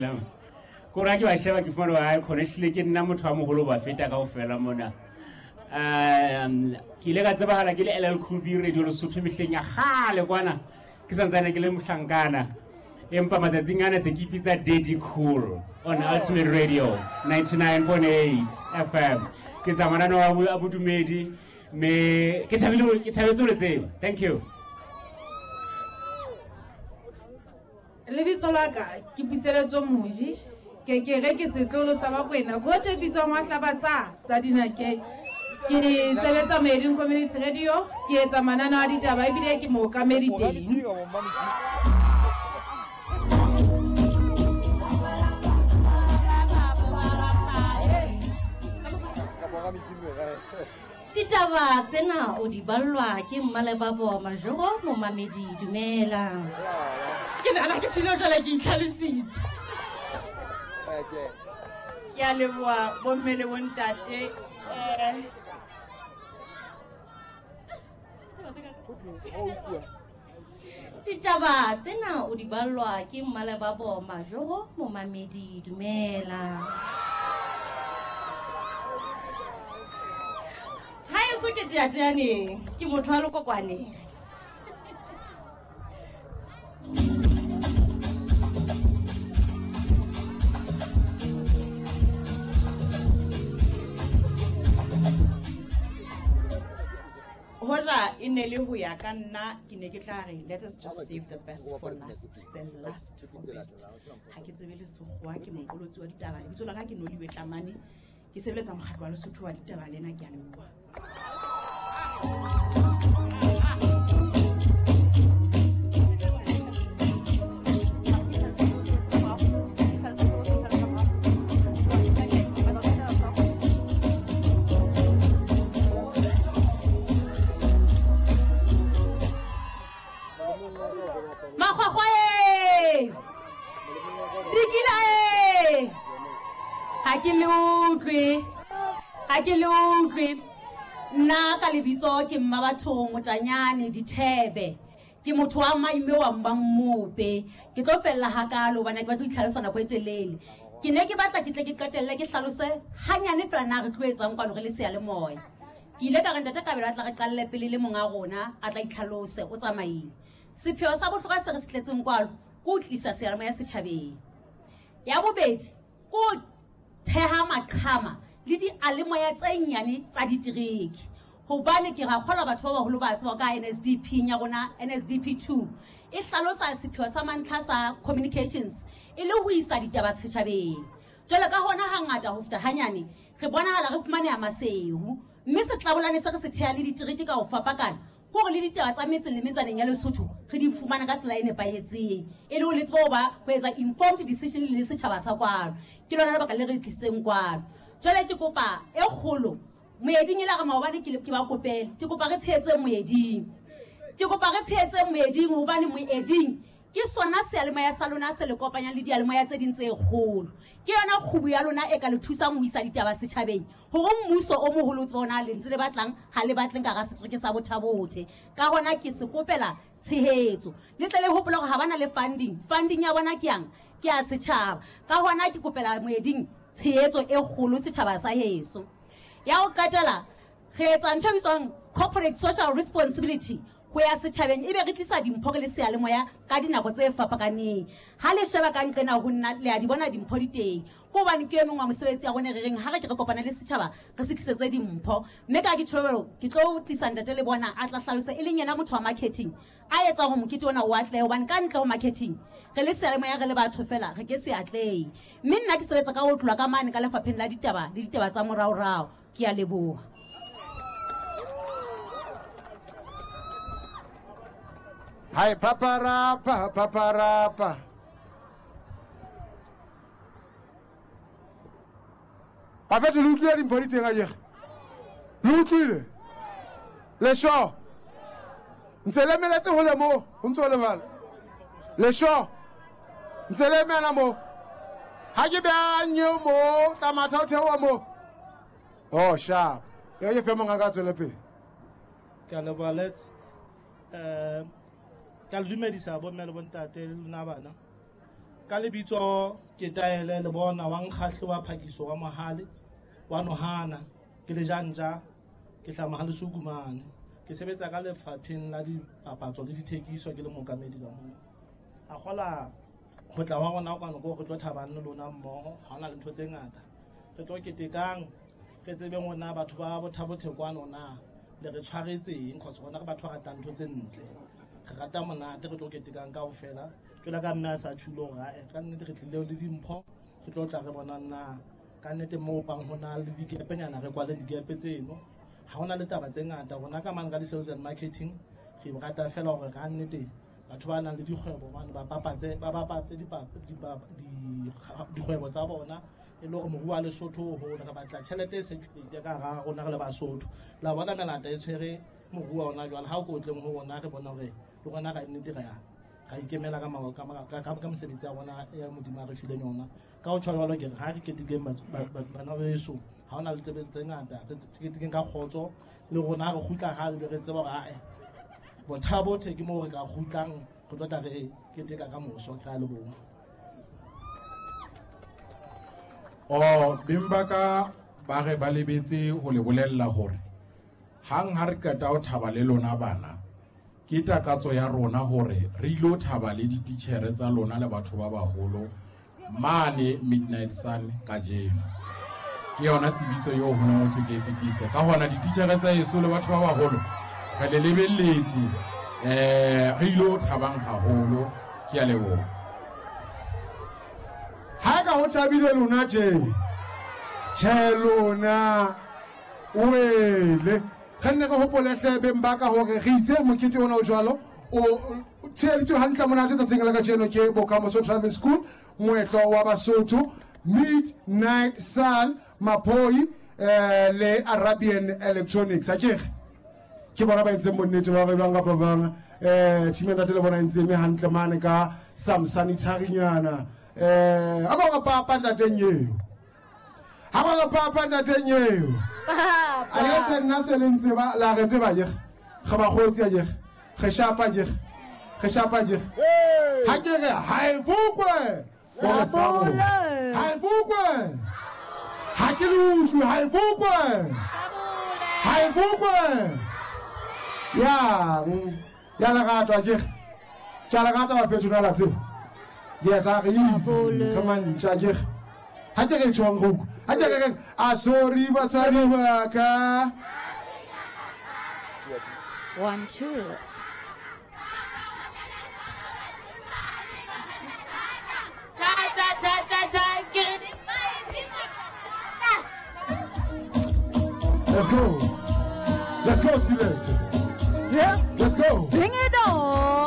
Ko ra ke ba sheba ke fumane hore hai khona ehlile ke nna motho a moholo ba feta kaofela mona. Ke ile ka tsebahala ke le LL Cool B Radio Lesotho mehleng ya kgale kwana ke santsane ke le mohlankana. Empa matsatsing ana se ke ipitsa Daddy Cool on Ultimate Radio 99.8 FM. Ke tsa mananeo a bodumedi me ke thabile ke thabetse ho le tseba. Thank you. Lebitso la ka ke Puseletso Moji, ke ke re ke setlolo sa Bakwena, ko tshepisong wa hlabatsa tsa dinakeng. Ke sebetsa Moeding Community Radio, ke etsa mananeo a ditaba ebile ke mookamedi teng. Ditaba tsena o di ballwa ke Mmalebabo Majoro momamedi dumela. Ke nahana ke shilo jwale ke itlhalositse. Ke a leboha bomme le bontate. Ditaba tsena o di ballwa ke Mmalebabo Majoro momamedi dumela. Ha eso ke teateaneng, ke motho wa Lokokwaneng. Hoja e ne le ho ya ka nna, ke ne ke tla re let us just save the best for last, the last for best. Ha ke tsebe le sekgowa, ke moqolotsi wa ditaba. Lebitso la ka ke Noliwe Tlamane, ke sebeletsa mokgatlo wa Lesotho wa ditaba lena, ke a leboha. Makgwakgwa e! Dikila e! Ha ke le utlwe. Ha ke le utlwe. Nna ka lebitso ke Mmabathong Motanyane Dithebe. Ke motho wa maime wa Mmammope. Ke tlo fella hakalo hobane ke batla ho itlhalosa nako e telele. Ke ne ke batla ke tle ke qetelle ke hlalose hanyane fela na re tlo etsang kwano re le seyalemoya. Ke ile ka re ntate Kabelo a tla re qalle pele le monga rona a tla itlhalose o tsamaile. Sepheo sa bohlokwa se re se tletseng kwalo ke ho tlisa seyalemoya setjhabeng. Ya bobedi ke ho theha maqhama le dialemoya tse nyane tsa ditereke. Hobane ke ra kgolwa batho ba baholo ba tseba ka NSDP ya rona, NSDP 2 e hlalosa sepheo sa mantlha sa communications e le ho isa ditaba setjhabeng. Jwale ka hona hangata ho feta hanyane re bonahala re fumaneha Maseru, mme setlabolane se re se theha le ditereke ka ho fapakana hore le ditaba tsa metseng le metsaneng ya Lesotho re di fumane ka tsela e nepahetseng, e le ho le tsebe ho ba ho etsa informed decision le setjhaba sa kwano. Ke lona lebaka le re tlisitseng kwano. Jwale ke kopa e kgolo Moeding e la re maobane ke ba kopele, ke kopa re tshehetse Moeding. Ke kopa re tshehetse Moeding hobane Moeding ke sona seyalemoya sa lona se le kopanyang le diyalemoya tse ding tse kgolo. Ke yona kgubu ya lona e ka le thusang ho isa ditaba setjhabeng hore mmuso o moholo o tsebe hore na le ntse le batlang ha le batleng ka hara setereke sa Botha-Bothe. Ka hona ke se kopela tshehetso. Le tle le hopole hore ha ba na le funding. Funding ya bona ke yang? Ke ya setjhaba. Ka hona ke kopela Moeding tshehetso e kgolo setjhaba sa heso. Ya ho qetela re etsa ntho e bitswang corporate social responsibility ho ya setjhabeng, ebe re tlisa dimpho re le seyalemoya ka dinako tse fapakaneng. Ha le sheba ka nqena ho nna le a di bona dimpho di teng. Ke hobane ke e mong wa mosebetsi ya rona re reng ha re ke re kopane le setjhaba re se tlisetse dimpho. Mme ka ke tjho ke tlo tlisa ntate le bona a tla hlalosa e leng yena motho wa marketing a etsang hore mokete ona o atlehe, hobane ka ntle ho marketing re le seyalemoya re le batho fela re ke se atlehe. Mme nna ke sebetsa ka ho tlola ka mane ka lefapheng la ditaba le ditaba tsa moraorao. Ke a leboha. Hai paparapa paparapa. Bafethu le utlwile dimpho di teng akere? Le utlwile? Le sure? Ntse le emeletse hole moo, ho ntse ho le jwalo. Le sure? Ntse le emela moo. Ha ke beha nyeo moo, tla matha o theoha moo. Oh, sharp. E ke fe monga ka tswele pele. Ke a leboha, Let's. Ke a le dumedisa bomme le bontate le lona bana. Ka lebitso ke Taele Lebona wa Nkgahle wa Phakiso wa Mohale wa Nohana, ke lejanja, ke hlaha Mohalesuku mane. Ke sebetsa ka lefapheng la dipapatso le dithekiso ke le mookamedi ka moo. A kgola ho tla wa rona kwano ko re tlo thabang le lona mmoho, ha hona le ntho tse ngata. Re tlo ketekang, re tsebeng hore na batho ba Bothabothe kwano na le re tshwaretseng, cause rona re batho ba ratang ntho tse ntle. Re rata monate, re tlo ketekang kaofela. Jwalo ka mme a sa tjhulo hore ae, ka nnete re tlile le dimpho, re tlo tla re bonang na ka nnete moo bang ho na le dikepenyana, re kwale dikepe tseno. Ha hona le taba tse ngata rona ka mane ka di-sales and marketing, re rata fela hore ka nnete batho ba nang le dikgwebo mane ba bapatse dikgwebo tsa bona, e le hore moruo wa Lesotho o hole. Re batla tjhelete e circulate ka hara rona re le Basotho. La bona melata e tshwere moruo wa ona jwale, ha o ko tleng ho rona re bona hore le rona ka nnete re ya ikemela ka mosebetsi ya rona ya Modimo a re fileng yona. Ka ho tjho jwalo ke re ha re ketekeng bana beso, ha hona le tsebe tse ngata, re ketekeng ka kgotso le rona re kgutla ha re tseba hore ae Bothabothe ke moo re ka kgutlang, re tlo tla re keteka ka moso. Ke a leboha. O beng ba ka ba re ba lebetse ho le bolella hore hang ha re qeta ho thaba le lona bana, ke takatso ya rona hore re ilo thaba le dititjhere tsa lona le batho ba baholo mane Midnight Sun kajeno. Ke yona tsebiso eo ho neng ho thwe ke e fetise. Ka hona dititjhere tsa heso le batho ba baholo re le lebelletse, re ilo thabang haholo. Ke a leboha. Ha ka ho thabile lona tje, tjhe lona wele. Re nne re hopole hle beng ba ka hore re itse mokete ona o jwalo o tsheheditswe hantle monate tsatsing la kajeno ke Bokamoso Driving School, moetlo wa Basotho, Midnight Sun, Maphoi le Arabian Electronics. Akere ke bona ba entseng bonnete ba hore bang kapa bang team ya ntate le bona e ntse eme hantle mane ka some sanitary-nyana. A ba re papa ntateng eo, ha ba re papa ntateng eo. A le tjhe nna se le ntse ba la re tseba akere, re bakgotsi akere, re shapa akere, re shapa akere. Ha ke re ha e fokwe, Sabole. ha e fokwe, ha ke le utlwe, ha e fokwe, ha e fokwe. Yang ya lerato akere, ke a lerata bafetho na la tseba. Yes, a re itse, re mantja akere. Ha ke re tjhong re utlwe, ha ke re a sorry batswadi ba ka. 1 2. Ta ta ta ta ta ke. Let's go. Let's go, Select. Yeah. Let's go. Bring it on.